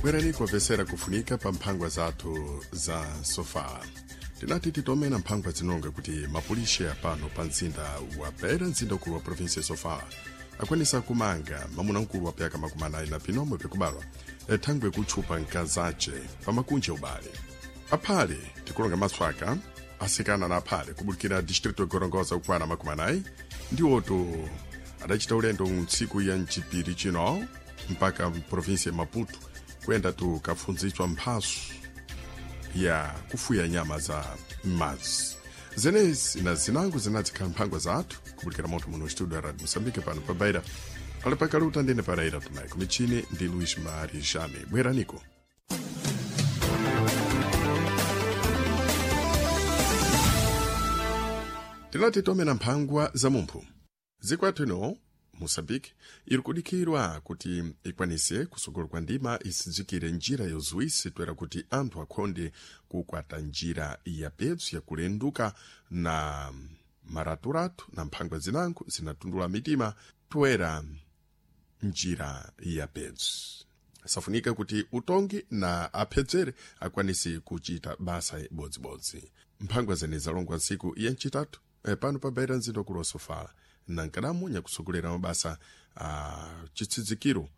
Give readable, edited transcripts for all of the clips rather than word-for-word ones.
Bwerani kuopesera kufunika pa mphangwa zathu za sofala. Tinati titomena mphangwa zinonga kuti mapulishe apano pa mzinda wa Beira, mzinda ukulu wa provinsi ya Sofala, akwanisa kumanga mamuna mkulu wa pyaka 45 na pinomwe pikubalwa thangwe kutchupa nkazace pa makunja ubale. Aphale tikulonga matswaka asikana na aphale kubulikira distrito ya Gorongosa kukwana 40 ndiwoto adachita ulendo ntsiku ya mchipiri chino mpaka provinsi ya Maputo kuyenda tukafunzitswa mphaso ya kufuya nyama za m'madzi. Zenezi na zinango zinadzikhala mphangwa zathu kubulikira moto muno studio ya Radio Moçambique pano pa Beira. Ali pakaluta ndine paraira tumaiko michini ndi Luis Mari Jame. Bweraniko. Tinati tomena mphangwa za mumphu. Zikwathu ino Moçambique iri kudikirwa kuti ikwanise kusogolo kwa ndima isidzikire njira yozuwisi toera kuti anthu akhonde kukwata njira ya petso yakulenduka na maraturatu na mphangwa zinango zinatundula mitima toera njira ya petso. Safunika kuti utongi na aphedzere akwanise kuchita basa ibodzibodzi. Mphangwa zene zalongwa ntsiku ya mchitatu pano pa Beira mzinda ukulu wa Sofala na nkadamu nyakusogolera mabasa a chitsidzikiro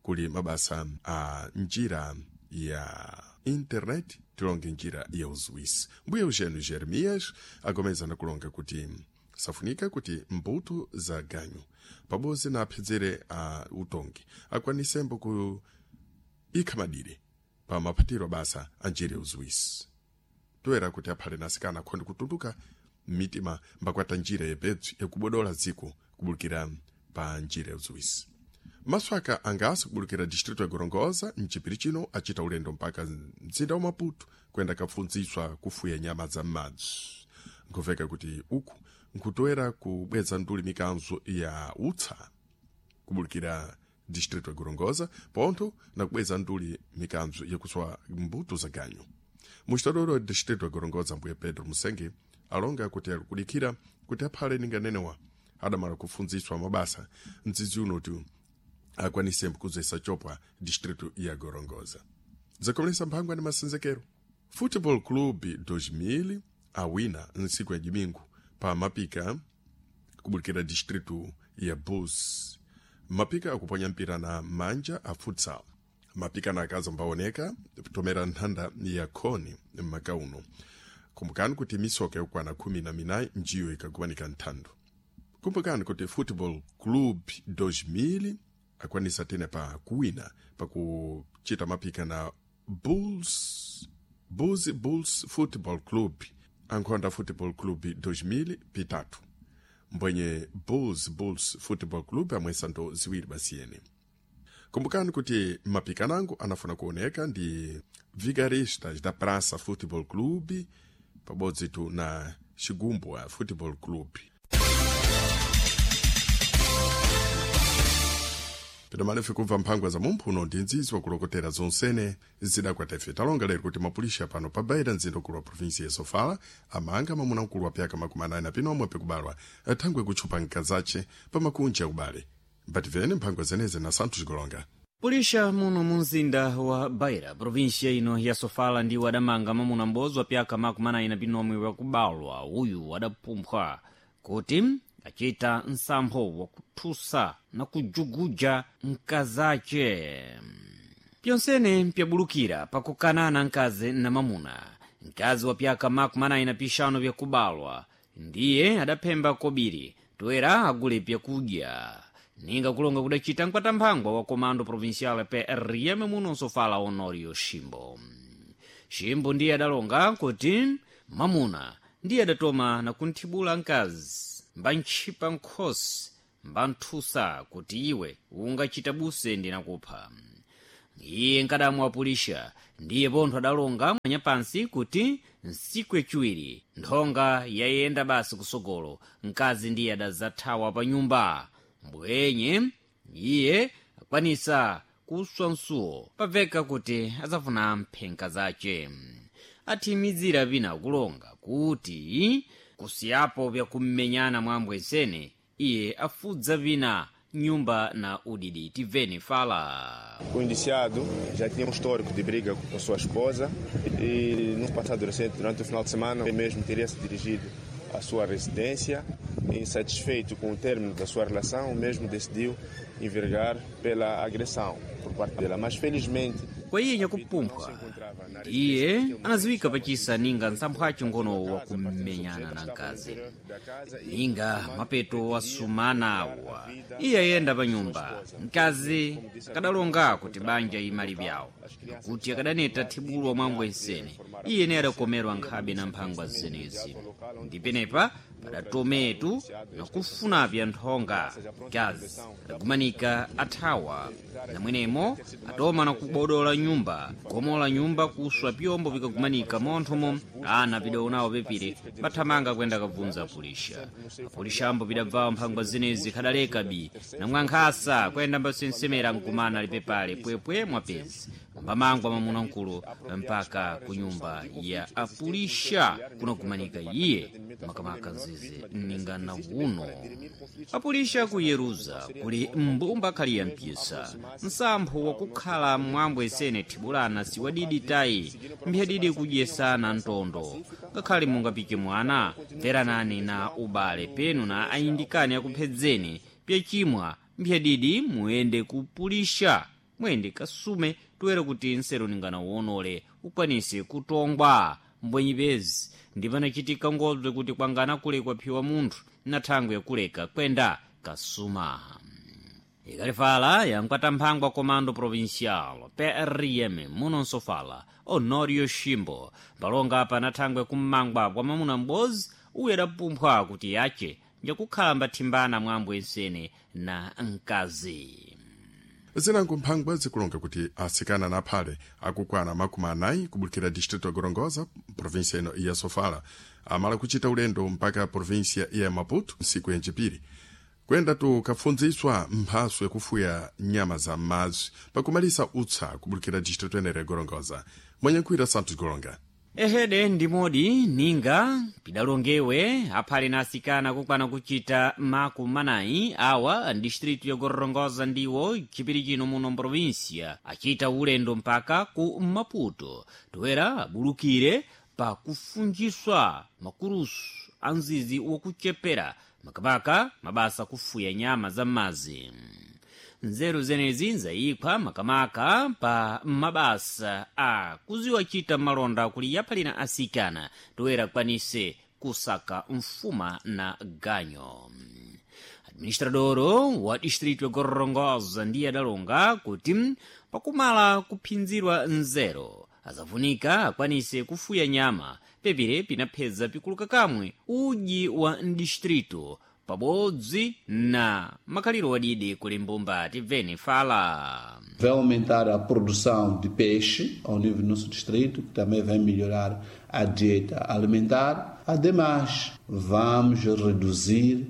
kuli mabasa a njira ya internet tilonge njira ya uzuwisi. Mbuye Eugênio Jeremias agomeza na kulonga kuti safunika kuti mbuto za ganyu pabodzi na aphedzere a utongi akwanisembo ku ikha madire pa maphatiro basa a njira ya uzuwisi toera kuti aphale na asikana akhonde kutunduka mitima mbakwata njira yepetso yakubodola dziko kubulikira pa njira yauziwisi. Maswaka angaso kubulikira distrito ya Gorongosa mchipiri chino achita ulendo mpaka mzinda wa Maputo kuyenda kapfunzitswa kufuya nyama za m'madzi. Nkhuveka kuti uku nkutoera kubweza nduli mikanzo ya utsa kubulikira distrito ya Gorongosa pontho na kubweza nduli mikanzo yakuswa mbuto za ganyu. Muxitadoro wa distrito ya Gorongosa mbuye Pedro Musenge alonga kuti alikudikira kuti aphale ninganenewa adamala kufunzitswa mabasa mdzidzi uno akwanise kuzesa chopwa distrito ya Gorongosa. Zakomelesa mphangwa ndi masenzekero. Football Club 2000 awina ntsiku ya Domingo pa mapika kubulikira distrito ya Bus. Mapika akuponya mpira na manja a futsal. Mapika na akazi ambaoneka tomera nthanda ya khoni m'maka uno. Kumbukani kuti misoka yokwana 14 njiyo ikakuwanika nthando. Kumbukani kuti Football Club 2000 akwanisa tene pa kuwina pakuchita mapika na Bulls Bulls Bulls Football Club ankhonda Football Club 2000 pitatu mbwenye Bulls Bulls Football Club amwesa ndo ziwiri basiyene. Kumbukani kuti mapikanango anafuna kuoneka ndi Vigaristas da Praça Football Club pabodzi tu na Xigumbwa Football Club. Pidomalefe kumva mphangwa za mumphuno ndi nzizi wakulokotera zonsene zidakwata ife. Talonga lero kuti mapulisha pano pa Beira mzinda ukulu wa provinsi ya Sofala amanga mamuna mkulu wa pyaka 45 na pinomwe pikubalwa thangwe kutchupa nkazace pa makunja ubale. Mbativene mphangwa zeneze na Santos Golonga. Pulisha muno mu mzinda wa Beira, provinsia ino ya Sofala ndiwo adamanga mamuna m'bodzi wa pyaka 45 wakubalwa. Uyu adapumphwa kuti achita nsampho wakuthusa na kujuguja mkazace. Pyonsene mpyabulukira pakukanana mkazi na mamuna. Mkazi wa pyaka 45 vyakubalwa ndiye adaphemba kobiri toera agule pyakudya. Ninga kulonga kudacita mkwatamphangwa wa comando provincial PRM muno Sofala Honorio Shimbo. Shimbo ndiye adalonga kuti mamuna ndiye adatoma na kunthibula mkazi mbantchipa nkhosi mbanthusa kuti iwe ungachita buse ndinakupha. Iye nkadamu apulisha ndiye pontho adalonga mwanyapansi kuti nsiku yaciwiri nthonga yayenda basi kusogolo mkazi ndiye adazathawa pa nyumba. Mbwenye iye akwanisa kuswa msuwo pabveka kuti adzafuna mphenka zace. Athimizira vina kulonga kuti kusiyapo vyakummenyana mwa ambwesene iye afudza vina Nyumba na udidi tiveni fala. O indiciado já tinha um histórico de briga com sua esposa e no passado recente, durante o final de semana, ele mesmo teria se dirigido à sua residência. Insatisfeito com o término da sua relação, o mesmo decidiu envergar pela agressão por parte dela. Mas felizmente Kwaiye nyakupumpha iye anaziwika pachisa ninga nsamphwacho ngono wakumenyana na mkazi ninga mapeto wasumana awa iye ayenda pa nyumba mkazi akadalonga kuti banja imali vyawo kuti akadaneta thibulwa mwangwesene iye ne adakomerwa nkhabe na mphangwa zenezi ndipenepa padatometu nakufuna pya nthonga mkazi adagumanika athawa namwenemo atoma nakubodola nyumba gomola nyumba kuswa pyombo vikagumanika monthomo ana pidaonawo pepire bathamanga kuyenda kabvunza apulisha apulisha ambo pidabvawo mphangwa zenezi khadaleka bi namwankhasa kuyenda mbasensemera nkumana lipepale pwepwe mwapezi mbamangwa mwamuna mkulu mpaka ku nyumba ya apulisha kunagumanika iye makamaka nzizi ningana uno apulisha ku yeruza kuli mbumba khali ya mpisa msampho wakukhala mwambwesene thibulana siwadidi tayi mphyadidi kudyesana ntondo ngakhale mungapike mwana mveranani na ubale penu na ayindikani akuphedzeni pyachimwa mphyadidi muyende kupulisha muyende kasume toera kuti nsero ningana uonole ukwanise kutongwa mbwenyipezi ndipanachitika ngobze kuti kwangana kulekwa phiwa munthu na thangwe yakuleka kwenda kasuma. Ikalifala yankwata komando provincial PRM muno nsofala Honorio Shimbo palonga pana thangwe kummangwa kwa mamuna m'bozi uye adapumphwa kuti yache njakukhala mbathimbana mwambo ensene na mkazi. Zinango mphangwa zikulonga kuti asikana na aphale akukwana 40 kubulukira distrito ya Gorongosa, província ino ya Sofala, amala kuchita ulendo mpaka província ya Maputo nsiku yancipiri kuyenda tukafunziswa mphaso yakufuya nyama za m'madzi pakumalisa utsa kubulukira distrito enere ya Gorongosa. Mwenyenkhwira Santos Goronga. Ehede ndimodi ninga pidalongewe aphale na asikana kukwana kuchita 40 awa distritu ya Gorongosa ndiwo chipiri chino muno mprovinsia achita ulendo mpaka ku Maputo toera abulukire pa kufunjiswa makurusu a mzizi wakuchepera makamaka mabasa kufuya nyama za m'madzi. Nzeru zenezi nzayikhwa makamaka pa mabasa a kuziwachita malonda kuli yaphalina asikana toera kwanise kusaka mfuma na ganyo. Administradoro wa distrito ya Gorongosa ndiye adalonga kuti pakumala kuphinzirwa nzeru azavunika akwanise kufuya nyama pepire pinapheza pikuluka kamwe uji wa mdistrito pabodzi na makhaliro wadidi kuli mbumba tibveni fala. Vai aumentar a produção de peixe ao nível do nosso distrito, que também vai melhorar a dieta alimentar. Ademais, vamos reduzir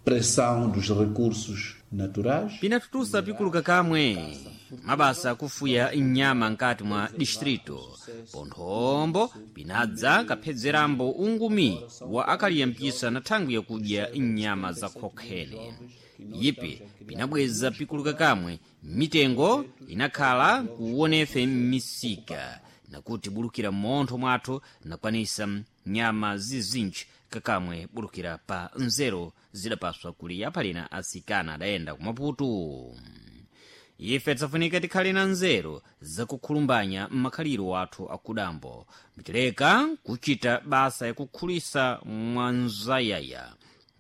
pressão dos recursos naturais. Pinatutusa pikuluka kamwe mabasa akufuya nyama nkati mwa distrito ponthombo pinadza kaphedzerambo ungumi wa akaliyambisa na thangwi yakudya nyama za khokhene yipi pinabweza pikuluka kamwe mitengo inakhala kuwonefe m'misika nakuti bulukira m'montho mwathu nakwanisa nyama zizinji kakamwe bulukira pa nzeru zidapaswa kuli aphalina asikana adayenda kumaputu. Ife tisafunika tikhale na nzeru zakukhulumbanya m'makhaliro athu akudambo mtileka kuchita basa yakukhulisa mwanzayaya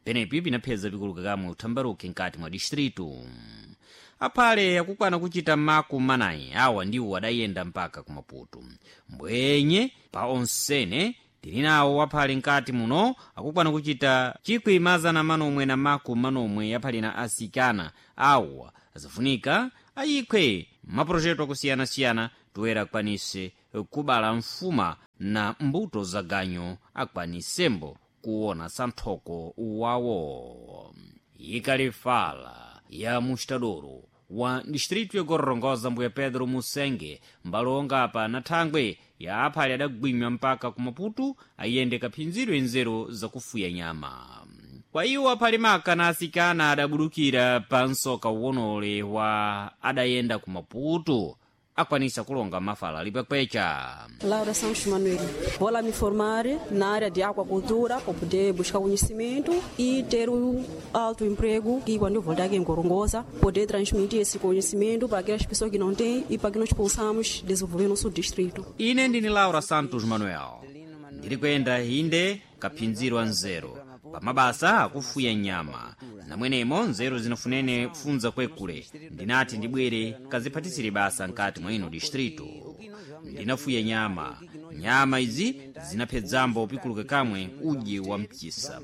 penepi pinapheza pikuluka kamwe uthambaruke nkati mwa distritu. Aphale akukwana kuchita 40 awa ndiwo adayenda mpaka kumaputu mbwenye pa onsene tili nawo aphale nkati muno akukwana kuchita 1940 yaphalina asikana awa azafunika ayikhwe maprojeto akusiyana-siyana toera akwanise kubala mfuma na mbuto za ganyo akwanisembo kuona santhoko wawo. Ikalifala ya mustadoro wa distritu ya Gorongosa mbuya Pedro Musenge mbalonga apa na thangwe ya aphale adagwinywa mpaka ku Maputo ayende kaphinzidwe nzeru zakufuya nyama. Kwa iwo aphalimaka na asikana adabudukira pa msoka uwonole wa adayenda ku Maputo akwanisa kulonga mafala lipwekwecha. Laura Santos Manuel. Vou lá me formar na área de aquacultura para poder buscar conhecimento e ter um alto emprego e quando eu voltar aqui em Gorongosa, poder transmitir esse conhecimento para aquelas pessoas que não têm e para que nós possamos desenvolver nosso distrito. Ine ndini Laura Santos Manuel. Ndiri kuyenda inde kaphinzirwa nzeru pamabasa akufuya nyama namwenemo nzeru zinafunene kufunza kwekule. Ndinati ndibwere kaziphatisire basa nkati mwa ino distrito. Ndinafuya nyama, nyama izi zinaphedzambo pikuluka kamwe udye wa mchisa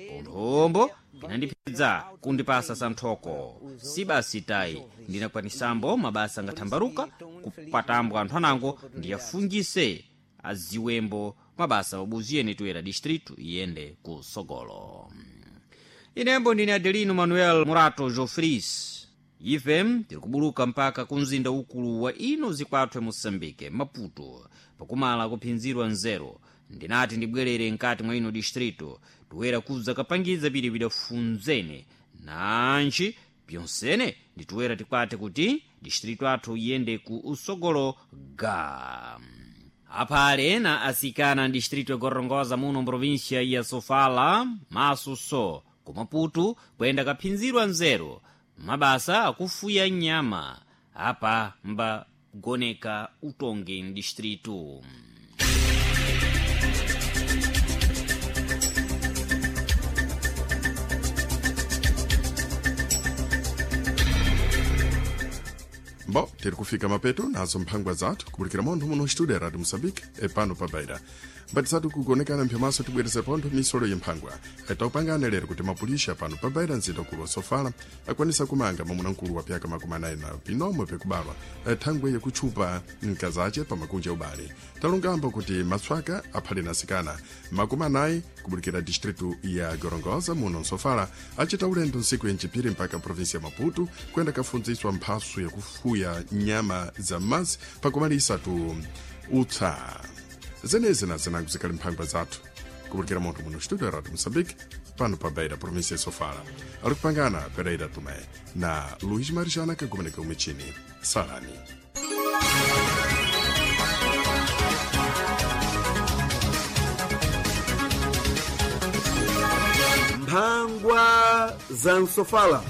ponthombo pinandiphedza kundipasa santhoko. Si basi tayi, ndinakwanisambo mabasa ngathambaruka kupatambwa anthu anango ndiyafungise aziwembo mabasa wabuziyeni tuyera distrito iyende ku sogolo. Inembo ndine Adelino Manuel Murato Jofris. Ife tiri kubuluka mpaka ku mzinda ukulu wa ino zikwathu Moçambique, Maputo, pakumala kuphinzirwa nzeru. Ndinati ndibwerere nkati mwa ino distrito toera kudza kapangiza pili pidafunzene nanji pyonsene nditoera tikwate kuti distrito athu iyende ku usogolo ga. Aphale na asikana distrito ya Gorongosa muno mprovinsia ya Sofala masuso ku Maputo kuyenda kaphinzirwa nzeru mabasa akufuya nyama apa mbagoneka utongi mdistrito. Bom, tiri kufika mapeto nazo mphangwa zathu kubulikira montho muno studio ya Radio Moçambique epano pa Beira. Mbatisatu kugonekana mphyamaso tibwereze pontho misolo yemphangwa. Taupangana lero kuti mapulisha pano pa Beira mzinda ukulu wa Sofala akwanisa kumanga mwamuna wa pyaka 40 na pinomwe pekubalwa thangwe yakutchupa mkazace pa makunja ubale. Talungamba kuti matswaka aphale na asikana 40 kubulikira distritu ya Gorongosa muno Msofala acita ulendo ntsiku ya Ncipiri mpaka provinsi ya Maputo kuyenda kafundziswa mphaso yakufuya nyama za m'madzi pakumalisa tu utsa. Zenezi na zinango zikali mphangwa zathu kubulikira munthu muno studio ya Radio Moçambique pano pa Beira província ya Sofala. Ali kupangana Pereira Tomé na Luís Marijana kagumeneka umichini. Salani. Mphangwa za Msofala.